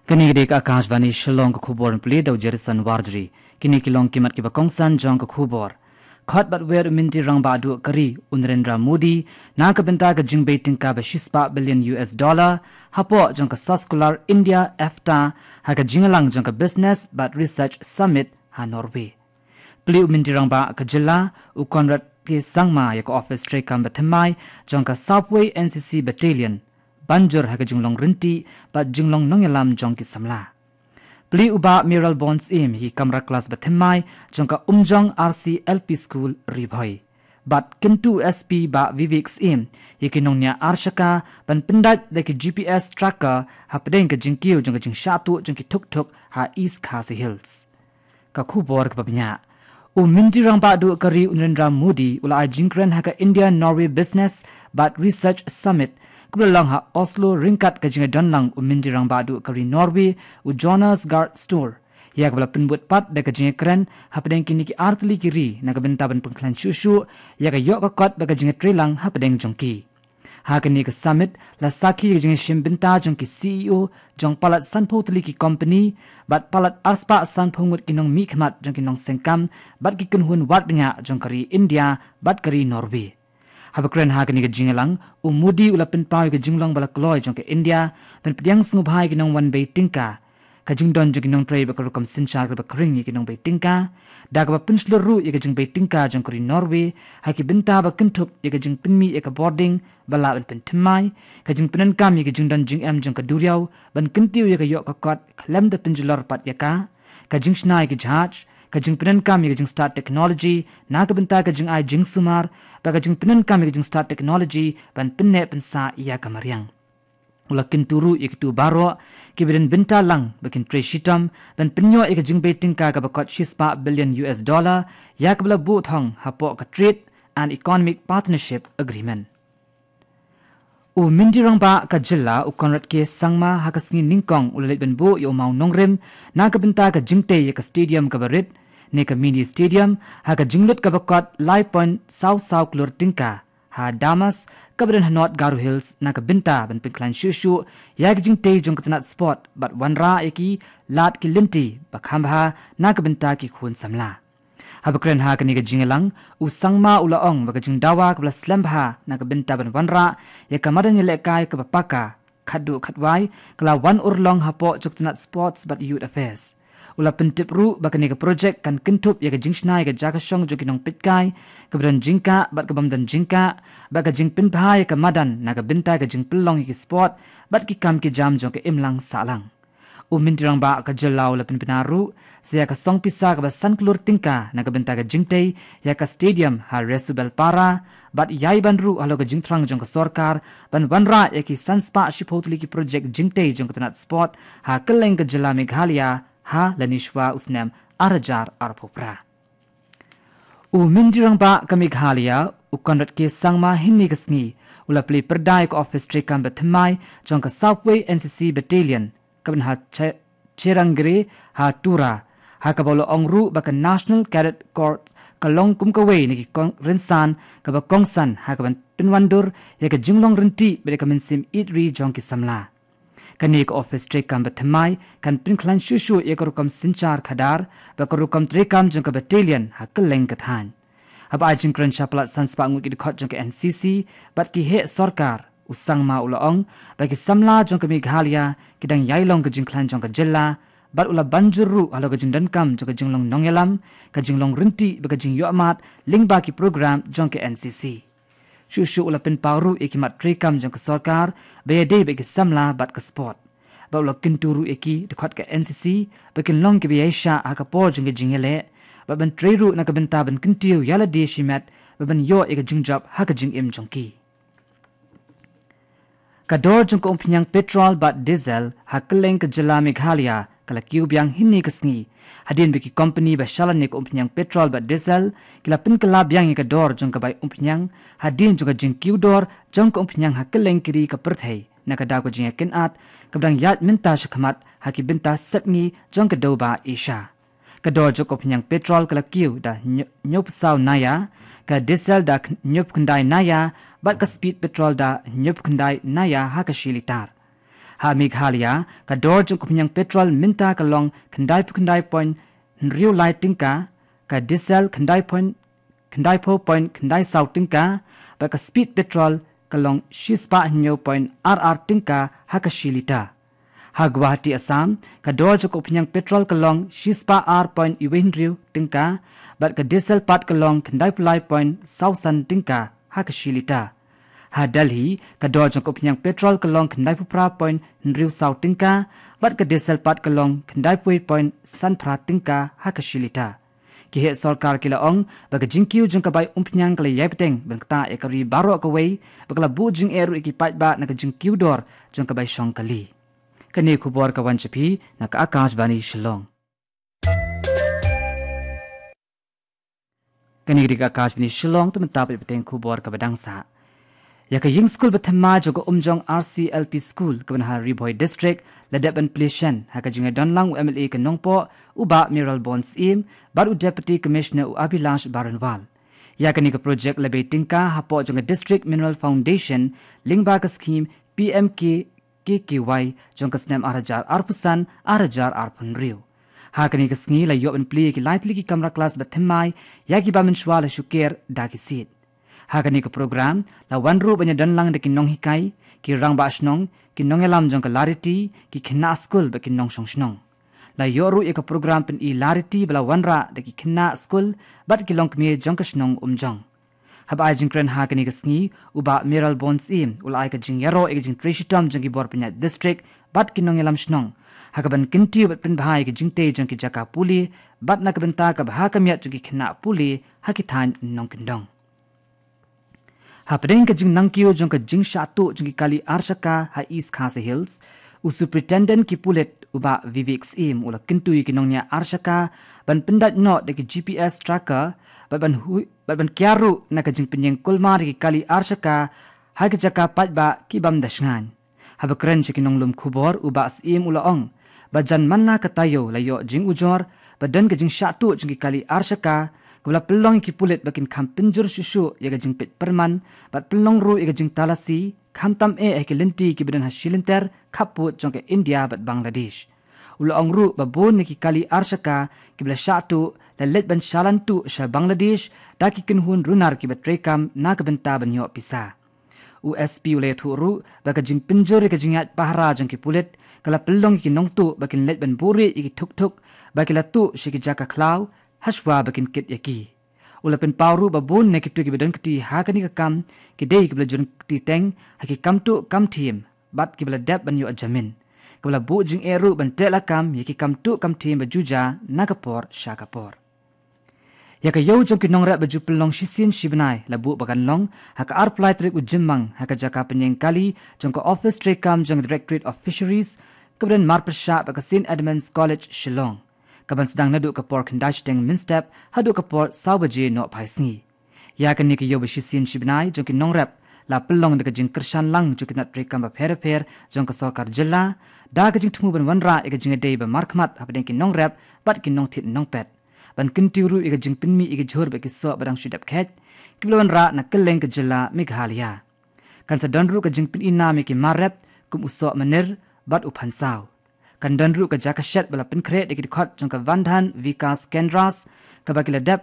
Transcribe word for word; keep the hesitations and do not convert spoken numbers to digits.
Kane ka dei ka Akashvani Shillong, ka khubor pule da u Jerison Warjri. Kine ki long ki mat kiba kongsan jong ka khubor. Khot bad wer u Myntri Rangbah Duh ka ri u Narendra Modi na ka bynta ka jingbei tyngka ba shispah billion U S dollar hapoh jong ka Soskular India EFTA ha ka jingïalang jong ka Business bad Research Summit ha Norway. Plie u Myntri Rangbah ka jylla u Conrad K Sangma ïa ka ophis treikam ba thymmai jong ka Southway N C C Battalion ban jur ha ka jinglong ryntih bad jinglong nongïalam jong ki samla. Plie u Bah Mayralborn Syiem ïa ki kamra klas ba thymmai jong ka Umjong R C L P School Ri Bhoi. Bad kyntu u S P Bah Vivek Syiem ïa ki nongñiah arshaka ban pyndait da ki G P S tracker hapdeng ka jingkiew jong ka jingshah tuh jong ki thukthuk ha East Khasi Hills. Ka khubor kaba bniah. U Myntri Rangbah Duh ka ri u Narendra Modi u la ai jingkren ha ka India Norway Business bad Research Summit kaba la long ha Oslo ryngkat ka jingïadon lang u Myntri Rangbah Duh ka ri Norway u Jonas Gahr Store, ïa kaba la pynbud pat da ka jingïakren hapdeng kine ki artylli ki ri na ka bynta ban pynkhlaiñ shuh shuh ïa ka ïoh ka kot bad ka jingïatreilang hapdeng jong ki. Ha kane ka summit la sakhi ka jingïashim bynta jong ki C E O jong palat sanphew tylli ki company bad palat arspah sanphew ngut ki nongmihkhmat jong ki nongsengkam bad ki kynhun wad bniah jong ka ri India bad ka ri Norway. Haba kren ha kane ka jingïalang, u Modi u la pynpaw ïa ka jinglong ba la kloi jong ka India ban pdiang sngewbha ïa ki nongwan bei tyngka, ka jingdon jong ki nongtrei bad ka rukom synshar kaba khring ïa ki nongbei tyngka, da kaba pynshlur ruh ïa ka jingbei tyngka jong ka ri Norway ha ki bynta ba kynthup ïa ka jingpynmih ïa ka bording ba lah ban pynthymmai, ka jingpyndonkam ïa ka jingdon jingem jong ka duriaw ban kyntiew ïa ka ïoh ka kot khlem da pynjulor pat ïa ka, ka jingshna ïa ki jahaj, ka jingpyndonkam ïa ka jingstad technology na ka bynta ka jingai jingsumar bad ka jingpyndonkam ïa ka jingstad technology ban pynneh pynsah ïa ka mariang. U la kyntu ruh ïa kito baroh kiba don bynta lang ba kin trei shitom ban pynïoh ïa ka jingbei tyngka kaba kot shispah billion U S dollar ïa kaba la buh thong hapoh ka Trade and Economic Partnership Agreement. U Myntri Rangbah ka jylla u Conrad K Sangma ha ka sngi nyngkong u la leit ban buh ïa u mawnongrim na ka bynta ka jingtei ïa ka stadium kaba rit ne ka mini stadium ha ka jinglut kaba kot lai point saw saw klur tyngka ha Damas kaba don ha North Garo Hills na ka bynta ban pynkhlaiñ shuh shuh ïa ka jingtei jong ka tnat sport bad wanrah ïa ki lad ki lynti ba kham bha na ka bynta ki khun samla. Haba kren ha kane ka jingïalang, u Sangma u la ong ba ka jingdawa kaba la slem bha na ka bynta ban wanrah ïa ka madan ïalehkai kaba paka khatduh khatwai ka la wan urlong hapoh jong ka tnat Sports bad Youth Affairs. U la pyntip ruh ba kane ka projek kan kynthup ïa ka jingshna ïa ka jaka shong jong ki nongpeitkai kaba don jingkah bad kabym don jingkah bad ka jingpynbha ïa ka madan na ka bynta ka jingpynlong ïa ki sport bad ki kam ki jam jong ka imlang sahlang. U Myntri Rangbah ka jylla u la pynbna ruh sa ïa ka song pisa kaba san klur tyngka na ka bynta ka jingtei ïa ka stadium ha Resubelpara bad ïai ban ruh halor ka jingthrang jong ka sorkar ban wanrah ïa ki san spah shiphew tylli ki projek jingtei jong ka tnat sport ha kylleng ka jylla Meghalaya ha lani shuwa u snem ar hajar arphew phra. U Myntri Rangbah ka Meghalaya u Conrad K Sangma hynne ka sngi u la plie pyrda ïa ka ophis treikam ba thymmai jong ka Southway N C C Battalion kaba don ha Che-, Cherangre ha Tura, ha kaba u la ong ruh ba ka National Cadet Corps ka long kum kawei na ki kong-, rynsan kaba kongsan ha kaban pynwandur ïa ka jinglong ryntih bad ïa ka mynsiem ïeit ri jong ki samla. Kane ka ophis treikam ba thymmai kan pynkhlaiñ shuh shuh ïa ka rukom synshar khadar bad ka rukom treikam jong ka battalion ha kylleng ka thaiñ. Haba ai jingkren sha palat san spah ngut ki dkhot jong ka N C C bad ki heh sorkar, u Sangma u la ong ba ki samla jong ka Meghalaya ki dang ïai long ka jingkhlaiñ jong ka jylla bad u la ban jur ruh halor ka jingdonkam jong ka jinglong nongïalam, ka jinglong ryntih bad ka jingïohmad lyngba ki program jong ka N C C. Shuh shuh u la pynpaw ruh ïa ki mat treikam jong ka sorkar ba ïadei bad ki samla bad ka sport. Bad u la kyntu ruh ïa ki dkhot ka N C C ba kin long kiba ïaishah ha ka por jong ka jingïaleh bad ban trei ruh na ka bynta ban kyntiew ïa lade shimet bad ban ïoh ïa ka jingjop ha ka jingim jong ki. Ka dor jong ka umphniang petrol bad diesel ha kylleng ka jylla Meghalaya ka la kiew biang hynne ka sngi. Hadien ba ki kompani ba shalan ïa ka umphniang petrol bad diesel ki la pynkylla biang ïa ka dor jong ka bai umphniang hadien jong ka jingkiew dor jong ka umphniang ha kylleng ki ri ka pyrthei na ka daw ka jingïakynad kaba dang ïaid mynta shakhmat ha ki bynta sepngi jong ka dewbah Asia. Ka dor jong ka umphniang petrol ka la kiew da hynñiew, hynñiewphew saw naya, ka diesel da hynñiewphew khyndai naya bad ka speed petrol da hynñiewphew khyndai naya ha ka shi litar. Ha Meghalaya, ka dor jong ka umphniang petrol mynta ka long khyndai phew khyndai point hynriew lai tyngka, ka diesel khyndai point khyndai phew point khyndai saw tyngka, bad ka speed petrol ka long shispah hynñiew point ar ar tyngka ha ka shi lita. Ha Guwahati, Assam, ka dor jong ka umphniang petrol ka long shispah ar point wei hynriew tyngka, bad ka diesel pat ka long khyndai phew lai point saw san tyngka ha ka shi lita. Ha Delhi, ka dor jong ka umphniang petrol ka long khyndai phew phra point hynriew saw tyngka, bad ka diesel pat ka long khyndai phew point san phra tyngka ha ka shi lita. Ki heh sorkar ki la ong ba ka jingkiew jong ka bai umphniang ka la ïai bteng ban ktah ïa ka ri baroh kawei, bad ka la buh jingeh ruh ïa ki paidbah na ka jingkiew dor jong ka bai shong kali. Kane ka khubor ka wan sha phi na ka Akashvani Shillong. Kane ka dei ka Akashvani Shillong, te mynta pat ïa bteng khubor kaba dang sah. Ïa ka ïing skul ba thymmai jong ka Umjong R C L P School kaba na ha Ri Bhoi District la dep ban plie shen ha ka jingïadon lang u M L A ka Nongpoh, u Bah Mayralborn Syiem, bad u Deputy Commissioner u Abhilash Baranwal. Ïa kane ka project la bei tyngka hapoh jong ka District Mineral Foundation lyngba ka scheme P M K K K Y jong ka snem ar hajar arphew san ar hajar arphew hynriew. Ha kane ka sngi la ïoh ban plie ïa ki lai tylli ki kamra klas ba thymmai ïa kiba mynshuwa la shu ker da ki siej. Ha kane ka program la wan ruh ban ïadon lang da ki nonghikai, ki rangbah shnong, ki nongïalam jong ka Lariti, ki khynnah skul bad ki nongshong shnong. La ïoh ruh ïa ka program pyni Lariti ba la wanrah da ki khynnah skul bad ki longkmie jong ka shnong Umjong. Haba ai jingkren ha kane ka sngi, u Bah Mayralborn Syiem u la ai ka jingïaroh ïa ka jingtrei shitom jong ki bor pynïaid district bad ki nongïalam shnong ha kaban kyntiew bad pynbha ïa ka jingtei jong ki jaka pule bad na ka bynta ka bha ka miat jong ki khynnah pule ha ki thaiñ nongkyndong. Hapdeng ka jingnangkiew jong ka jingshah tuh jong ki kali arshaka ha East Khasi Hills, u Superintendent ki pulit u Bah Vivek Syiem u la kyntu ïa ki nongñiah arshaka ban pyndait noh da ki G P S tracker bad ban hui bad ban kiar ruh na ka jingpynïeng kulmar ïa ki kali arshaka ha ki jaka paidbah ki bym da shngaiñ. Haba kren sha ki nonglum khubor, u Bah Syiem u la ong ba jan man la ka taïew la ïoh jingujor ba don ka jingshah tuh jong ki kali arshaka, kaba la pynlong ïa ki pulit ba kin kham pynjur shuh shuh ïa ka jingpeit pyrman bad pynlong ruh ïa ka jingtalasi, khamtam eh ha ki lynti kiba don ha shilynter khappud jong ka India bad Bangladesh. U la ong ruh ba bun na ki kali arshaka kiba la shah tuh la leit ban shalan tuh sha Bangladesh da ki kynhun runar kiba treikam na ka bynta ban ïoh pisa. U S P u la ïathuh ruh ba ka jingpynjur ïa ka jingïaid pahara jong ki pulit ka la pynlong ïa ki nongtuh ba kin leit ban buhrieh ïa ki thuk thuk ba ki la tuh sha ki jaka khlaw hashwa ba kin kit ïa ki. U la pynpaw ruh ba bun na kito kiba don kti ha kane ka kam ki dei kiba la jur kti teng ha ki kam tuh kam thiem bad kiba la dep ban ïoh jamin, kaba la buh jingeh ruh ban teh lakam ïa ki kam tuh kam thiem ba ju ja na ka por sha ka por. Ïa ka ïew jong ki nongrep ba ju pynlong shisien shibnai la buh ba kan long ha ka arphew lai tarik u Jymmang ha ka jaka pynïeng kali jong ka ophis treikam jong Directorate of Fisheries kaba don marpyrshah bad ka St Edmund's College Shillong, kaban sdang naduh ka por khyndai shiteng mynstep haduh ka por saw baje nohphai sngi. Ïa kane ka ïew ba shisien shibnai jong ki nongrep la pynlong da ka jingkyrshan lang jong ki tnat treikam bapher bapher jong ka sorkar jylla, da ka jingthmu ban wanrah ïa ka jingïadei ba markhmat hapdeng ki nongrep bad ki nongthied nongpet, ban kyntiew ruh ïa ka jingpynmih ïa ki jhur bad ki soh ba dang shu dep kheit kiba la wanrah na kylleng ka jylla Meghalaya. Kan sa don ruh ka jingpyni nam ïa ki mar rep kum u soh mynir bad u phansaw. Kan don ruh ka jaka shet ba la pynkhreh da ki dkhot jong ka Van Dhan Vikas Kendras, kaba ki la dep